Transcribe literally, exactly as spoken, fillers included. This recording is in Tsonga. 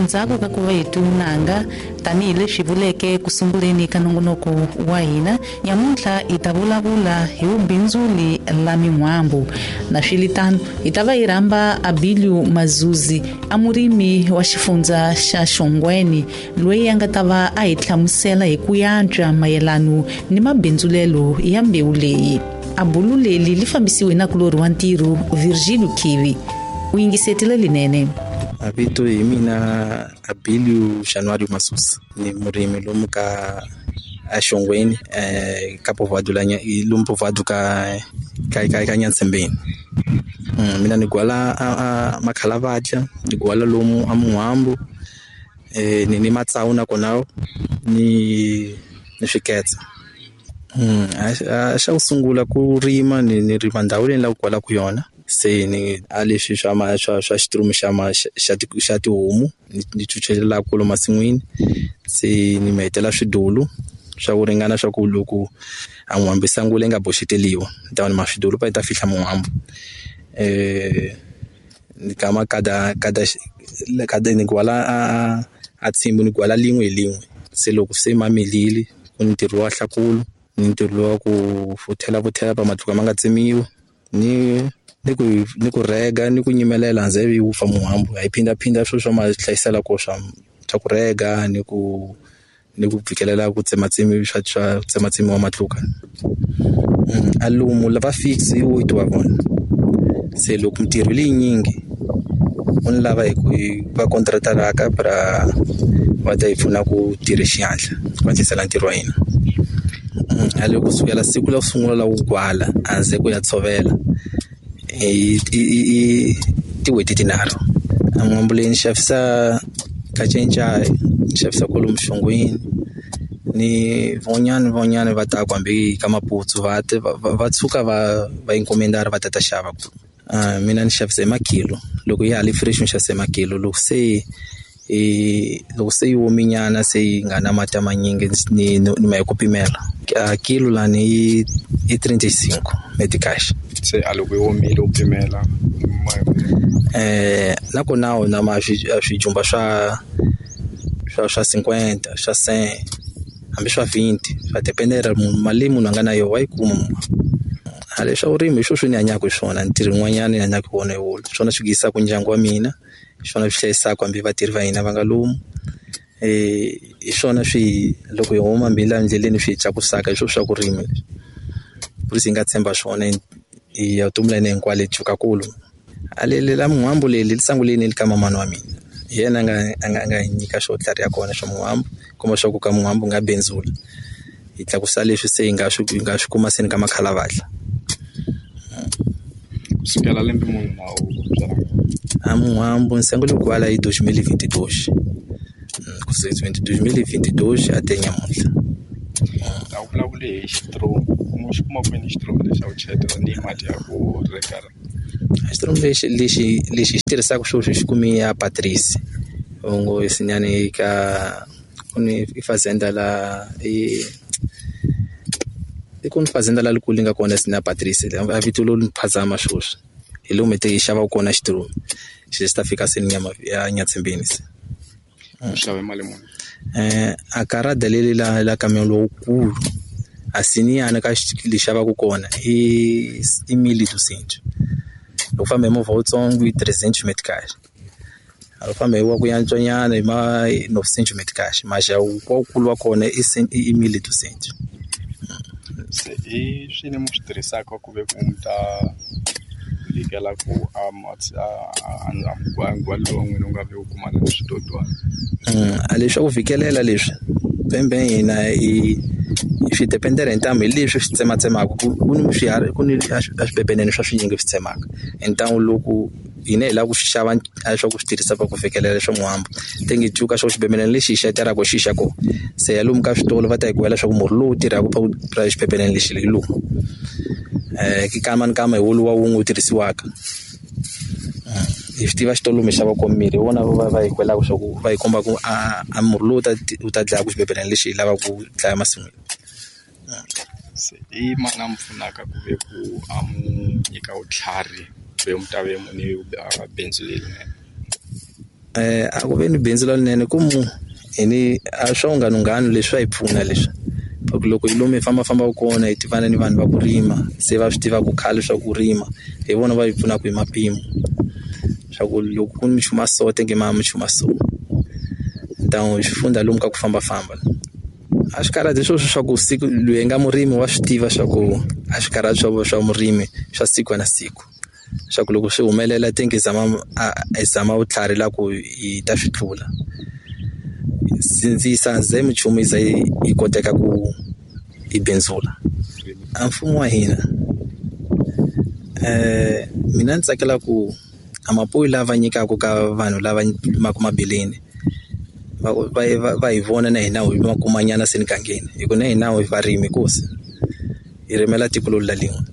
Ndzhaku ka ku va hi tunanga tanihileswi vuleke ku sunguleni ka nongonoko wa hina nyamuntlha hi ta vulavula hi vubindzuli la min'wambu. Na swilitano hi ta va hi rhamba Abilio Mazuzi, a murimi wa xifundza xa Xongweni, loyi a nga ta va a hi hlamusela hi ku yantswa mayelano ni mabindzulelo ya mbewu leyi. A bulu leli li fambisiwe na kulori wa ntirho Virgilio Kivi. U yingisetile linene. A vito hi mina Abilio Januário Masusa, ni murimi lomu ka a Xongweni, eh ka povoado la lomu povoado ka ka ka ka Nyantsembeni. Mm, mina ni gwala a, a makhalavadya, ni gwala lomu a Mun'wambu, eh ni ni matsawu na kona ni ni swiketsa. Mm, a xa ku sungula ku rima ni ni rima ndhawu leyi ni lavaka ku gwalaka yona. Se ni a leswi swa ma swa swa xiturumu xa ma xa xa tihomu ni chuchelela kolo masin'wini. Se ni mi hetela swidulu swa ku ringana swa ku loko a n'wambu sangule nga boxeteliwa ni ta ma swidulu pa yi ta fihla mun'wambu. Eh ni kama kada kada kada ni gwala a a tsimbu ni gwala lin'we hi lin'we. Se loko se ma milile ku ni ntirho wa hlakulu, ni ntirho wa ku futhela futhela pa matluka ma nga tsemiwi, ni ni ku ni ku rega ni ku nyimelela nze yi wupfa mun'wambu. Hi phindaphinda swilo swa ma hlayisela ko swa swa ku rega ni ku ni ku fikelela ku tsematsemi swa swa tsematsemiwa matluka. A lomu lava fix hi oito wa vona. Se loko mintirho leyinyingi u ni lava hi ku va contractaraka pra va ta hi pfuna ku tirha xihatla ku hatlisela ntirho wa hina. A loko kusukela siku la ku sungula la ku gwala a ze ku ya tshovela i i tin'hweti tinharhu. A n'wambu leyi ni xavisa ka Cencai, ni xavisa kwalomu Xongweni, ni van'wanyana van'wanyana va ta ku hambi ka Maputsu va va tshuka va va encomendara va ta ta xava. Mina ni xavisa hi makilo, loko ya ha ri fresh ni xavisa hi makilo, loko se i loko se yi ominyana se yi nga na mati manyingi ni ni ma hi ku pimela. A kilo lani i i trinta e cinco meticais. Se a loko yi omile u pimela eh na kona na ma swijumba swa swa swa cinquenta, swa cem, hambi swa vinte, swa dependera mali leyi munhu a nga na yona wa yi kuma. A leswa vurimi hi swona swi ni hanyaka hi swona, ntirho wun'wanyana ni hanyaka hi wona hi wona. Swona swi yisaka ndyangu wa mina, swona swi hlayisaka hambi vatirhi va hina va nga lomu. Eh hi swona swi loko hi huma hambi la endleleni swi hi tlakusaka hi swona swa ku rima leswi. Ku hi nga tshemba swona hi ya vutomi la hina hinkwalo hi tshuka kulu. A leli la mun'wambu leli li sunguleni ka mamani wa mina. Hi yena a nga a nga a nga hi nyika xo tlhariha kona xa mun'wambu, komba swa ku ka mun'wambu nga bindzula. Hi tlakusa leswi se hi nga swi hi nga swi kuma se ni ka makhalavadla. Kusukela lembe muni na u byala? A mun'wambu ni sungule ku gwala hi dois mil e vinte e dois. Kusuka dois mil e vinte e dois até nyamuntlha. A wu vulavuli hi xitiromu, u xi kuma kwini xitiromu lexi a wu cheletela ni mati ya ku reka? Xitiromu lexi lexi lexi hi xi tirhisaka sweswi hi xi kume ya Patrice. Ngo sinyani ka ku ni fazenda la i i ku ni fazenda la likulu nga kona sina Patrice a vito lo ni phazama sweswi. Hi lomu hi te hi xavaka kona xitiromu. Xi xi ta fika se ni ya Nyatsembeni se. U xave mali muni? Eh a karada leli la la camion lowukulu a siniyana ka li xavaka kona i i mil e duzentos. Loko famba hi movha wutsongo i trezentos meticais. A famba hi wa ku yantswanyana hi ma novecentos meticais, mas wa wukulu wa kona i i mil e duzentos. Se i swini mi swi tirhisaka ku ve ku mi ta vikela ku a a ndzhwalo wa n'wina wu nga vi wu kumana na switsotswana? A leswi swa ku fikelela leswi bembe hina hi swi dependela hi ntamu hi leswi swi tsematsemaka ku ku ni swiharhi ku ni a swipepenene swa swinyingi swi tsemaka. Ntamu loko hina hi lava ku swi xava a swa ku swi tirhisa ku fikelela swa n'wambu tenge cuka swa xibebelana lexi hi xateraka xi xa kona. Se ya lomu ka switolo va ta hi kwela swa ku murhi lowu tirhaka pa xibebelana lexi hi lowu. Eh kama ni kama hi woluwa wun'we wu tirhisiwaka. Hi swi tiva xitolo mi xava kona mirhi hi wona va va hi kwelaka swa ku va hi komba ku a a murhi lowu ta wu ta dlaya ku xibebelana lexi hi lavaka ku dlaya masin'wini. Se i mani a mi pfunaka ku ve ku a mu nyika vutlhari ve mi ta ve ni bindzu lerinene? Eh a ku ve ni bindzu lerinene ku mu hi ni a swa vunghana leswi swa hi pfuna leswi ku loko hi lomu hi fambafambaka kona hi tivana ni vanhu va ku rima se va swi tivaka khale swa ku rima hi vona va hi pfunaka hi mapimo swa ku loko ku ni minchumu ya so tenge ma minchumu ya so ni swi fundza lomu ka ku fambafamba a swi karhati sweswo swa ku siku loyi nga murimi wa swi tiva swa ku a swi karhati swa swa murimi swa siku na siku swa ku loko swi humelela tenge zama a zama vutlhari la ku hi ta swi tlula sindzisa ze minchumu yi za yi koteka ku yi bindzula a mfumo wa hina eh mina ni tsakela ku a mapuwe lava nyikaka ka vanhu lava limaka mabeleni va va va hi vona na hina hi ma kumanyana se mugangeni hi ku na hina hi varimi nkosi hi rimela tiko leri la lin'we.